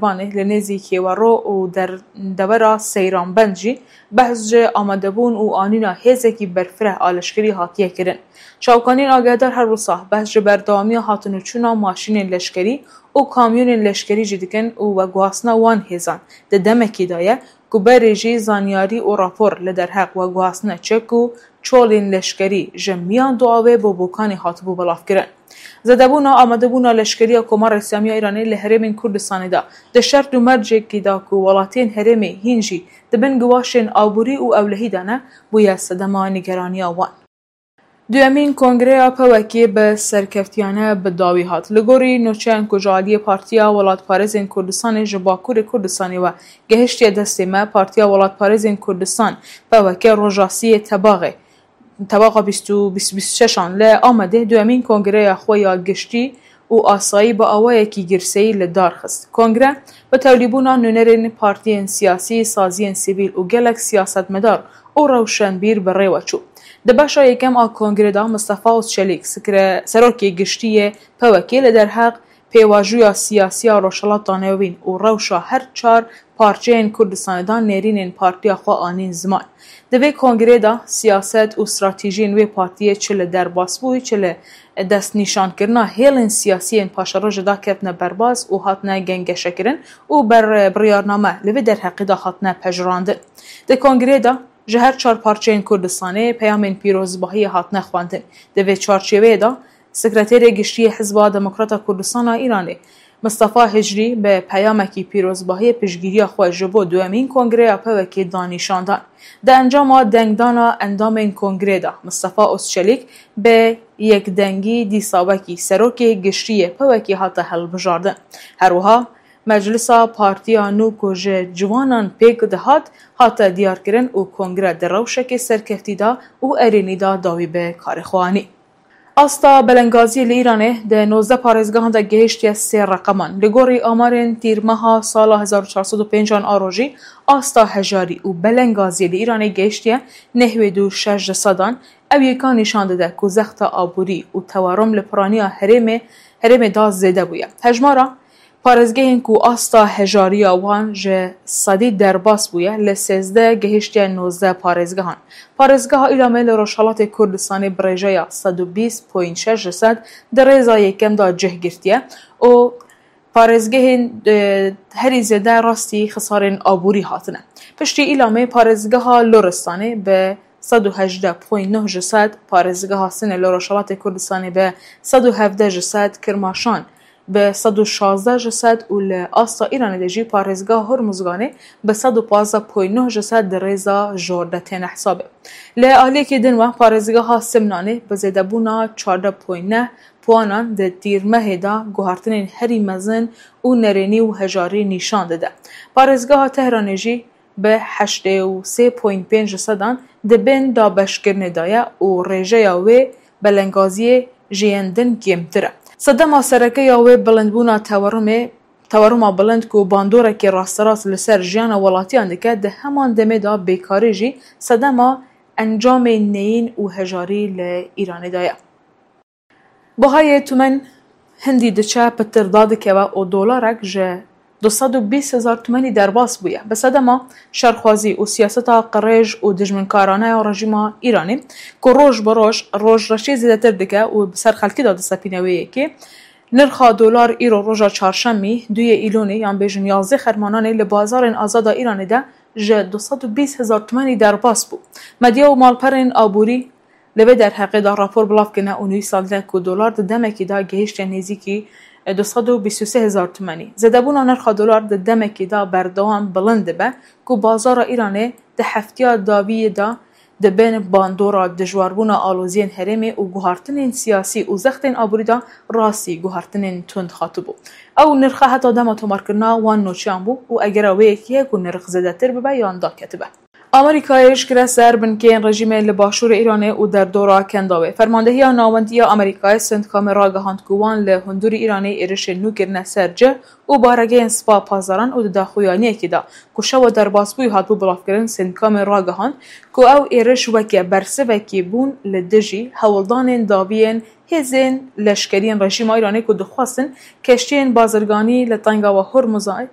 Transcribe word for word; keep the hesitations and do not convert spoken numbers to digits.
Banê li nêzî Kêwero û der-, dewera Seyranbend jî behs ji amadebûn û anîna hêzekî berfireh a leşkerî hatiye kirin. Çavkaniyên agehdar her wisa behs ji berdewamiya hatin û çûna maşînên leşkerî û kamyonên leşkerî jî dikin û veguhastina wan hêzan di demekî de ye ku berê jî zanyarî û rapor li derheq veguhastina çek û çolên leşkerî ji miyan duawê bo Bokanê hatibû belavkirin. Zedebûna amadebûna leşkerî ya Komara Îslamî ya Îranê li herêmên Kurdistanê de di şert û mercekî de ku welatiyên herêmê hîn jî di bin giwaşên aborî û ewlehî de ne, bûye sedema nîgeraniya wan. Duyemîn Kongreya P Y K bi serkeftiyane bi dawî hat. Li gorî nûçeyên ku ji aliyê Partiya Welatparêzên Kurdistanê ji Bakurê Kurdistanê ve gehiştiye destê me, Partiya Welatparêzên Kurdistan, P Y K, roja siyê Tebaxê, Tebaxa bîst û bîst, bîst û şeşan li Amedê duyemîn kongreya xwe ya giştî û asayî bi awayekî girseyî li dar xist. Kongre bi tevlîbûna nûnerên partiyên siyasî, saziyên sivîl û gelek siyasetmedar û rewşenbîr bi rê ve çû. Di beşa yekem a kongrê de Mistefa Ozçelîk, sikre-, serokê giştî yê P Y K, li derheq pêvajoya siyasî ya Rojhilata Navîn û rewşa her çar parçeyên Kurdistanê de nêrînên partiya xwe anîn ziman. Di vê kongrê de siyaset û stratejiyên wê partiyê çi li derbasbûyî, çi li destnîşankirina hêlên siyasî yên paşerojê de ketine berbas û hatine gengeşekirin û ber-, biryarname li vê derheqê de hatine pejirandin. Di kongrê de ji her çar parçeyên Kurdistanê peyamên pîrozbahiyê hatine xwendin. Di vê çarçêveyê de Sekreterê Giştî yê Hizba Demokrata Kurdistana Îranê, Mistefa Hicrî, bi peyamekî pîrozbahiyê piştgiriya xwe ji bo duyemîn Kongreya P Y K da nîşan dan. Di encama dengdana endamên Kongrê de Mistefa Ozçelîk bi yekdengî dîsa wekî Serokê Giştî yê P Y K hate hilbijardin. Her wiha Meclisa Partiya nû ku ji ciwanan pêk dihat, hate diyarkirin û Kongre di rewşekê serkeftî de û erênî de dawî bi karê xwe anî. Asta belengaziyê li Îranê di nozdeh parêzgehan de gihiştiye sê reqeman. Li gorî amarên tîrmeha sala hezar û çar sed û pênc an a rojî, asta hejarî û belengaziyê li Îranê gihiştiye nehwêd û şeş ji sedan. Ew yeka nîşan dide ku zexta aborî û tewarom li piraniya herêmê, herêmê de zêde bûye. Hejmara parêzgehên ku asta hejariya wan ji sedî derbas bûye, li sêzdeh gihiştiye nozdeh parêzgehan. Parêzgeha Îlamê li Rojhelatê Kurdistanê bi rêjeya sed û bîst point şeş ji sed di rêza yekem de cih girtiye û parêzgehên, e, herî zêde rastî xisarên aborî hatine. Piştî Îlamê parêzgeha Loristanê bi sed û hejdeh point neh ji sed, parêzgeha Sinê li Rojhelatê Kurdistanê bi sed û hevdeh ji sed, Kirmaşan bi sed û şazdeh ji sed û li asta Îranê de jî parêzgeha Hormuzganê bi sed û pazdeh point neh ji sed di rêza jor de têne hesabê. Li aliyekî din ve parêzgeha Simnanê bi zêdebûna çardeh point neh puanan di tîrmehê de guhartinên herî mezin û nerênî û hejarî nîşan dide. Parêzgeha Tehranê jî bi heştê û sê point pênc ji sedan di bin dabeşkirinê de ye û rêjeya wê belengaziyê ji yên din kêmtir e. Sedema sereke ya wê bilindbûna tewerumê, teweruma bilind ku bandorekê rasterast li ser jiyana welatiyan dike, di heman demê de bêkarî jî sedema encamên neyîn û hejarî li Îranê de ye. Bihayê tumen hindî diçe pitir dadikeve û dolarek ji du sed û bîst hezar tumenî derbas bûye. Bi sedema şerxwazî û siyaseta qirêj û dijminkarane ya rejîma Îranê ku roj bi roj rojreşê zêdetir dike û bi ser xelkê de disepîne wê yekê, nirxa dolar îro roja çarşemî, duyê Îlonê, yan bêjin yazdeh Xermananê li bazarên azada Îranê de ji du sed û bîst hezar tumenî derbas bû. Medya û malperên aborî li vê derheqê de rapor belav kirine û nivîsandine ku dolar di demekî de gihişte nêzîkî du sed û bîst û sê hezar tumenî. Zêdebûna nirxa dolar di demekî de berdewam bilind dibe ku bazara Îranê di heftiya dawiyê de di bin bandora dijwarbûna aloziyên herêmê û guhartinên siyasî û zextên aborî de rastî guhartinên tund hatibû. Ew nirxa heta dema tomarkirina wan nûçeyan bû û egera wê yekê ye ku nirx zêdetir bibe yan daketibe. Amerîkayê eşkere ser binkeyên rejîmê li başûrê Îranê û derdora Kendawê. Fermandehiya Navendî ya Amerîkayê Sentkamê ragihand ku wan li hundirê Îranê êrişên nû kirine ser cih û baregehên Spa Pasdaran û di daxuyaniyekê de ku şewa derbasbûyî hatibû bilavkirin, Sentkamê ragihand ku ew êriş weke bersivekê bûn li dijî hewldanên dawiyên hêzên leşkeriyên rejîma Îranê ku dixwestin keştiyên bazirganî li Tengava Hormuzê